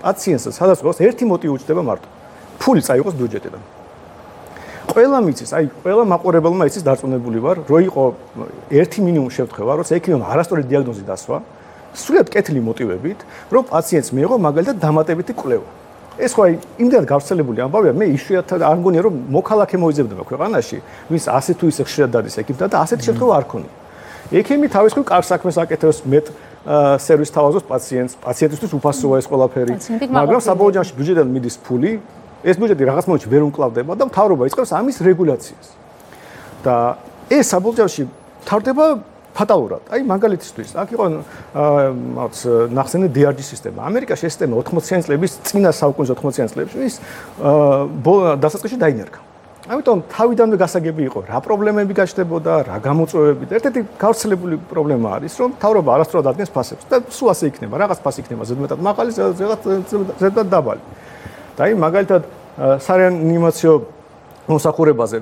პაციენტსაც სადღაც ერთი მოტივი უჩნდება მარტო. ფული წაიღოს ბიუჯეტიდან. ყველა მიცის, აი ყველა მაყურებელმა იცის დარწმუნებული ვარ, რომ იყო ერთი მინიმუმ შევთხება, როცა ექიმმა არასწორი დიაგნოზი დასვა, სრულიად კეთილი მოტივებით, რომ პაციენტს მიიღო მაგალითად დამატებითი კვლევა. ეს ხო აი იმდენად გავრცელებული ამბავია, მე იშვიათად არ მგონია რომ მოქალაქე მოიძებნება ქვეყანაში, ვის ასე თუ ისე ხშირად დადის ექიმთან და ასეთი შემთხვევა არ ქონია. ექიმი თავის მხრივ კარგ საქმეს აკეთებს, მეტ სერვისს თავაზობს პაციენტს, პაციენტისთვის უფასოა ეს ყველაფერი, მაგრამ საბოლოო ჯამში ბიუჯეტიდან მიდის ფული, ეს ბიუჯეტი რაღაც მომენტში ვერ უმკლავდება და მთავრობა იწყებს ამის რეგულაციას. და ეს საბოლოო ჯამში თავდება ფატალურად. აი მაგალითისთვის, აქ იყო ნახსენე DRG სისტემა. ამერიკაში ეს სისტემა 80-იან წლების წინა საუკუნის 80-იან წლებში ის დასაწყისში დაინერგა. ამიტომ თავიდანვე გასაგები იყო, რა პრობლემები გაჩნდებოდა, რა გამოწვევები და ერთ-ერთი გავრცელებული პრობლემა არის, რომ მთავრობა არასწორად ადგენს ფასებს და სულ ასე იქნება, რაღაც ფასი იქნება ზედმეტად მაღალი, რაღაც ზედმეტად დაბალი. და აი მაგალითად სარეანიმაციო მოსახურებაზე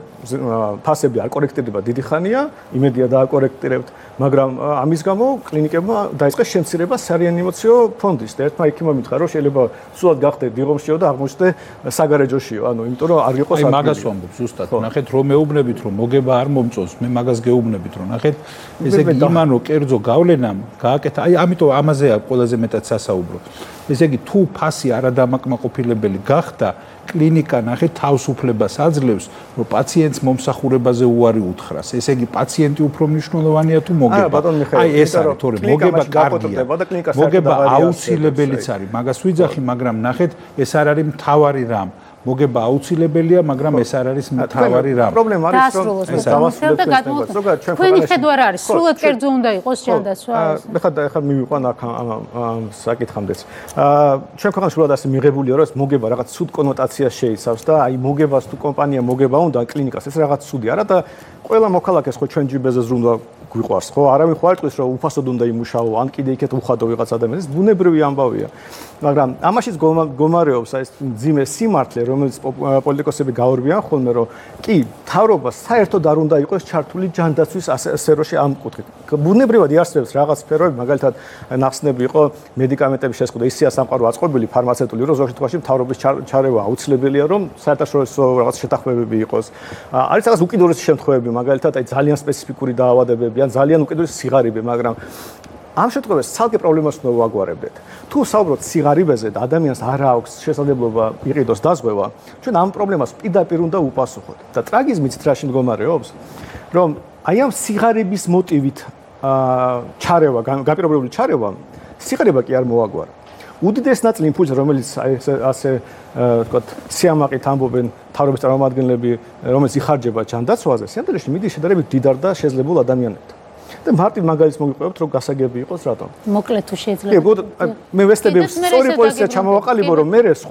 ფასები არ კორექტირდება დიდი ხანია, იმედია დააკორექტირებთ, მაგრამ ამის გამო კლინიკებმა დაიწყეს შემცირება სარეანიმაციო ფონდის და ერთმა ექიმმა მითხრა, რომ შეიძლება სულად გახდე დიღომშიო და აღმოჩნდე საგარეჯოშიო, ანუ იმიტომ რომ არ იყოს აი მაგას ვამბობ ზუსტად. ნახეთ რომ მეუბნებით რომ მოგება არ მომწონს, მე მაგას გეუბნებით რომ ნახეთ, ესე იგი იმან რომ კერძო გავლენამ გააკეთა, აი ამიტომ ამაზეა ყველაზე მეტად სასაუბრო. ესე იგი თუ ფასი არადამაკმაყოფილებელი გახდა კლინიკა ნახეთ თავისუფლებას აძლევს, რომ პაციენტს მომსახურებაზე უარი უთხრას. ესე იგი პაციენტი უფრო მნიშვნელოვანია თუ მოგება. აი ეს არის, თორე მოგება კარგია. მოგება აუცილებელიც არის. მაგას ვიძახი, მაგრამ ნახეთ, ეს არ არის მთავარი რამ. მოგება აუცილებელია, მაგრამ ეს არ არის მთავარი რამ. პრობლემა არის, რომ ეს დავასრულებთ ზოგადად ჩვენ თქვენი ხედვა რა არის? სრულად კერძო უნდა იყოს ჯანდაცვა. ეხლა მივიყვან აქ ამ საკითხამდეც. ჩვენ ქვეყანაში სრულად ასე მიღებულია, რომ ეს მოგება რაღაც ცუდ კონოტაციას შეიცავს და აი მოგებას თუ კომპანია მოგება უნდა კლინიკას, ეს რაღაც ცუდი არა და ყველა მოქალაქეს ხო ჩვენ ჯიბეზე ზრუნვა გვიყვარს ხო? არავინ ხო არ იტყვის რომ უფასოდ უნდა იმუშაო, ან კიდე იქეთ უხადო ვიღაც ადამიანს, ეს ბუნებრივი ამბავია. მაგრამ ამაშიც გომარეობს აი ეს ძიმე სიმართლე, რომელიც პოლიტიკოსები გაორბიან ხოლმე, რომ კი, მთავრობას საერთოდ არ უნდა იყოს ჩართული ჯანდაცვის სფეროში ამ კუთხით. ბუნებრივად იარსებებს რაღაც სფეროები, მაგალითად ნახსნები იყო მედიკამენტების შეზღუდვა, ისია სამყარო აწყობილი ფარმაცევტული, რომ ზოგ შემთხვევაში მთავრობის ჩარევა აუცილებელია, რომ საერთაშორისო რაღაც შეთანხმებები იყოს. არის რაღაც უკიდურესი შემთხვევები, მაგალითად აი ძალიან სპეციფიკური დაავადებები, ან ძალიან უკიდურესი სიღარიბე, მაგრამ ამ შემთხვევაში ცალკე პრობლემას უნდა ვაგვარებდეთ. თუ საუბრობთ სიღარიბეზე და ადამიანს არ აქვს შესაძლებლობა იყიდოს დაზღვევა, ჩვენ ამ პრობლემას პირდაპირ უნდა უპასუხოთ. და ტრაგიზმიც რაში მდგომარეობს, რომ აი ამ სიღარიბის მოტივით ჩარევა, გაპირობებული ჩარევა, სიღარიბა კი არ მოაგვარა. უდიდეს ნაწილი იმ ფულს, რომელიც ასე ვთქვათ, სიამაყით ამბობენ მთავრობის წარმომადგენლები, რომელიც იხარჯება ჯანდაცვაზე, სიამოვნებაში მიდის შედარებით დიდარ და შეძლებულ ადამიანებთან. და მარტივ მაგალითს მოგიყვებთ, რომ გასაგები იყოს რატომ. მოკლედ თუ შეიძლება. მე ვესტები სწორი პოზიცია ჩამოვაყალიბო, რომ მე სხვა